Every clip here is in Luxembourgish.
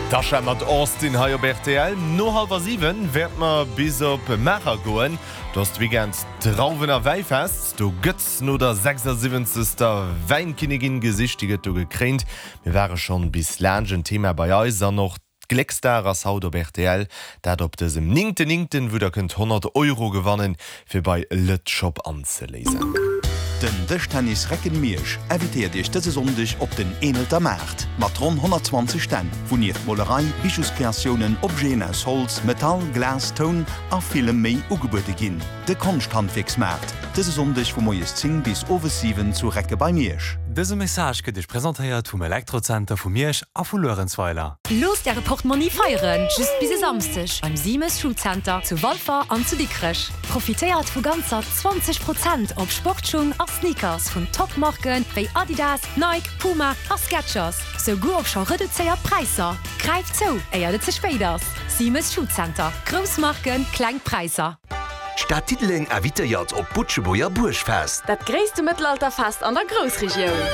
D'Tasha mat Austin hei op rtl. No hallwer 7 wäerte mer bis op Maacher goen. Do ass de Weekend d'Drauwen a Wäifest. Do gëtt no der 76. Wäinkinnigin gesicht. Déi gëtt do gekréint. Mir ware schonn bis laanscht en Thema bei eis an och Glécksdag ass haut op rtl, dat op dësem néngten néngten, wou der kënnt 100 Euro gewannen, fir bei Lët'Shop anzeléisen. Den Dëschtennis Recken Miersch invitéiert Iech dëse Sonndeg op den Eenelter Maart mat ronn 120 Stänn, wou nieft Molerei, Bijouscreatiounen, Objeten aus Holz, Metall, Glas, Toun a villem méi ugebuede ginn. De Konschthandwierksmaart, dëse Sonndeg vu moies 10 bis owes 7 zu Recke bei Miersch. Dëse Message gëtt Iech presentéiert vum Elektrozenter vu Miersch a vu Luerenzweiler. Loosst Äre Portmonni feieren, just bis e Samsdeg beim Simes Schuhcenter zu Walfer an zu Dikrech. Profitéiert vu ganzer 20 Prozent op Sportschung a Sneakers vun Top-Marken wéi Adidas, Nike, Puma a Skechers, souguer op scho reduzéiert Präisser. Gräift zou, éiert et ze spéit ass! Simes Schuhcenter, grouss Marken, kleng Präisser. D'Stad Diddeleng invitéiert op d'Butschebuerger Buergfest. Dat gréisste Mëttelalterfest an der Groussregioun.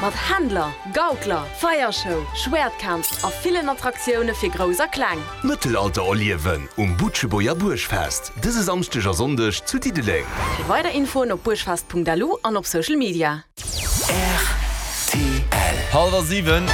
Mat Händler, Gaukler, Feiershow, Schwäertkampf a villen Attraktioune fir Grouss a Kleng. Mëttelalter erliewen um Butschebuerger Buergfest dëse Samschdeg a Sonndeg zu Diddeleng. Fir weider Infoen op buergfest.lu an op Social Media. Rtl. Hallwer 7.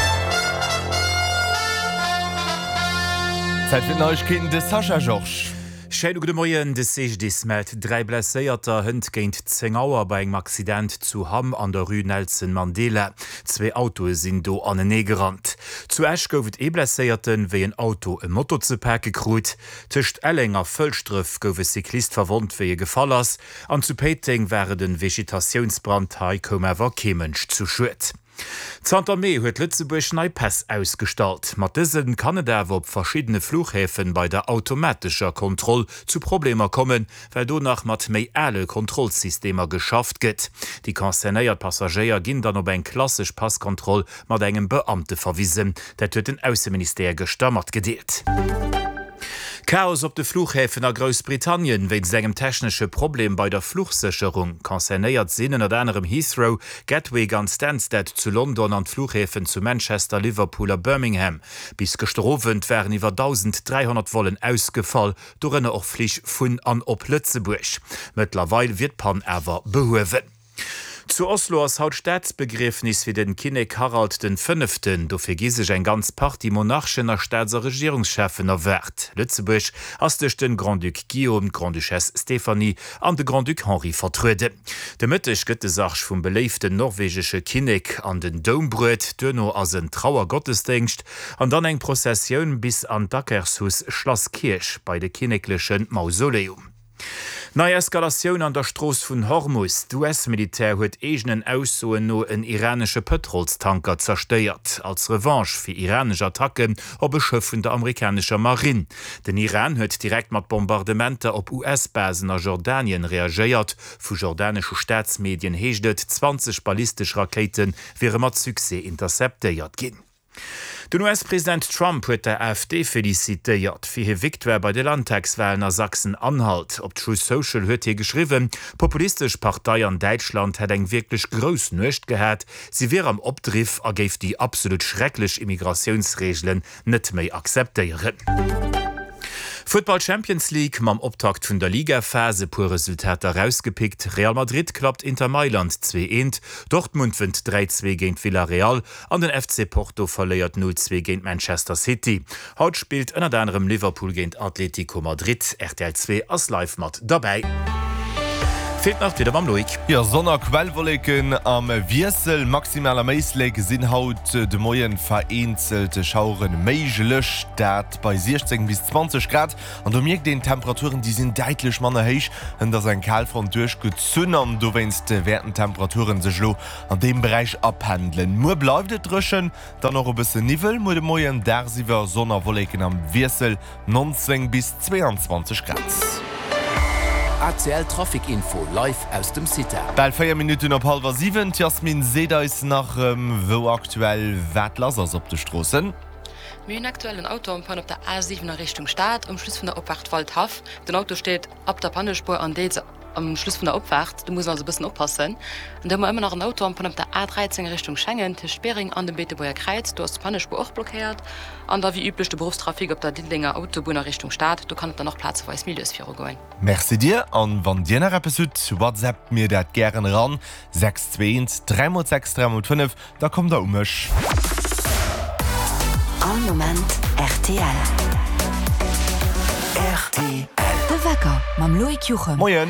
Zäit fir d'Neiegkeeten, de Sascha Georges. Schéine gudde Moien. De CGDIS mellt 3 Blesséierter hënt géint 10 Auer bei engem Accident zu Hamm an der Rue Nelson Mandela. Zwee Autoe sinn do anenee gerannt. Zu Esch gouf et ee Blesséierten, wéi en Auto e Moto ze pake krut. Tëscht Elleng a Fëlschdref gouf e Cyclist verwonnt, wéi e gefall ass. An zu Péiteng war et en Vegetatiounsbrand, hei koum awer kee Mënsch zu Schued. Zanter Mee huet Lëtzebuerg nei Päss ausgestallt. Mat dëse kann et awer op verschiddene Fluchhäfen bei der automatescher Kontroll zu Problemer kommen, well do nach mat méi ale Kontrollsystemer geschafft gëtt. Déi concernéiert Passagéier ginn dann op eng klassesch Passkontroll mat engem Beamte verwisen. Dat huet den Ausseministère gëschter matgedeelt. Chaos op de Fluchhäfen a Groussbritannien wéinst engem technesche Problem bei der Fluchsécherung. Concernéiert sinn ënnert anerem Heathrow, Gatwick an Stansted zu London an d'Fluchhäfen zu Manchester, Liverpool a Birmingham. Bis gëschter Owend waren iwwer 1.300 Vollen ausgefall, dorënner och Flich vun an op Lëtzebuerg. Mëttlerweil wier d'Pann awer behuewen. Zu Oslo ass haut Staatsbegriefnis fir den Kinnek Harald den Fënneften. Dofir gi sech eng ganz Partie Monarchen a Staats a Regierungscheffen erwaart. Lëtzebuerg ass duerch den Grand-Duc Guillaume, d'Grande-Duchesse Stéphanie an de Grand-Duc Henri vertrueden. De Mëtteg gëtt de Sarg vum beléiften norwegesche Kinnek an den Doum bruet. Duerno ass en Trauergottesdéngscht an dann eng Prozessioun bis an d'Akershus Schlasskierch bei de kinnekleche Mausoleum. Nei Eskalatioun an der Strooss vun Hormus, D'US-Militär huet eegenen Aussoen no en iranesche Pëtrolstanker zerstéiert, als Revanche fir iranesch Attacken op e Schëff vun der amerikanescher Marinn. Den Iran huet direkt mat Bombardementer op US-Basen a Jordanien reagéiert. Vu jordanesche Staatsmedien heescht et, 20 ballistesch Rakéite wiere mat Succès interceptéiert ginn. Den US-President Trump huet der AfD felicitéiert fir hir Victoire bei de Landtagswalen a Sachsen-Anhalt. Op Truth Social huet hie geschriwwen, d'populistesch Partei an Däitschland hätt eng wierklech grouss Nuecht gehat, si wier am Opdriff a géif déi absolut schrecklech Immigratiounsreegelen net méi akzeptéieren. Futtball Champions League, Mam Optakt vun der Ligaphas e puer Resultater erausgepickt, Real Madrid klappt Inter Mailand 2, 1, Dortmund wënnt 3, 2 géint Villarreal An den FC Porto verléiert 0, 2 géint Manchester City. Haut spillt ënnert anerem Liverpool géint Atletico Madrid. Rtl 2 ass live mat derbäi. Feelt nach d'Wieder mam Loïc. Jo, Sonn a Quellwolleken am Wiessel. Maximal am Éislek sinn haut de Moien vereenzelt Schauere méiglech, dat bei 16 bis 20 Grad. An do mierkt een, d'Temperaturen déi sinn däitlech manner héich. Hënt ass eng Kalfront duerchgezunn an dowéinst wäerten d'Temperaturen sech elo An deem Beräich apendelen. Muer bleift et dréchen, dann och e bësse Niwwel. Muer de Moien dagsiwwer Sonn a Wolleken am Wiessel, 19 bis 22 Grad. ACL Trafic Info live aus dem CITA. Bal 4 Minutten op hallwer 7. D'Yasmine seet eis nach erëm, wou aktuell wat lass ass op de Stroossen. Mir hunn aktuell en Auto en panne op der A7 a Richtung Stad, um Schluss vun der Opfaart Waldhaff. Den Auto steet ab der Pannespuer an deels. Am Schluss vun der Opfaart. Do muss een also e bëssen oppassen. An da hu mer ëmmer nach en Auto am Panne op der A13 a Richtung Schengen, tëscht Biereng an dem Beetebuerger Kräiz. Do ass d'Pannespuer och blockéiert. An da wéi üblech de Beruffstrafic op der Diddelenger Autobunn a Richtung Stad. Do kann et dann och plazeweis méi lues virugoen. Merci dir, an wann dir nach eppes hutt, whatsappt mir dat gären eran, 6 2 1 3 x 6 3 x 5, da kommt der u mech. All Moment rtl. Rtl. De Wecker mam Loïc Juchem. Moien.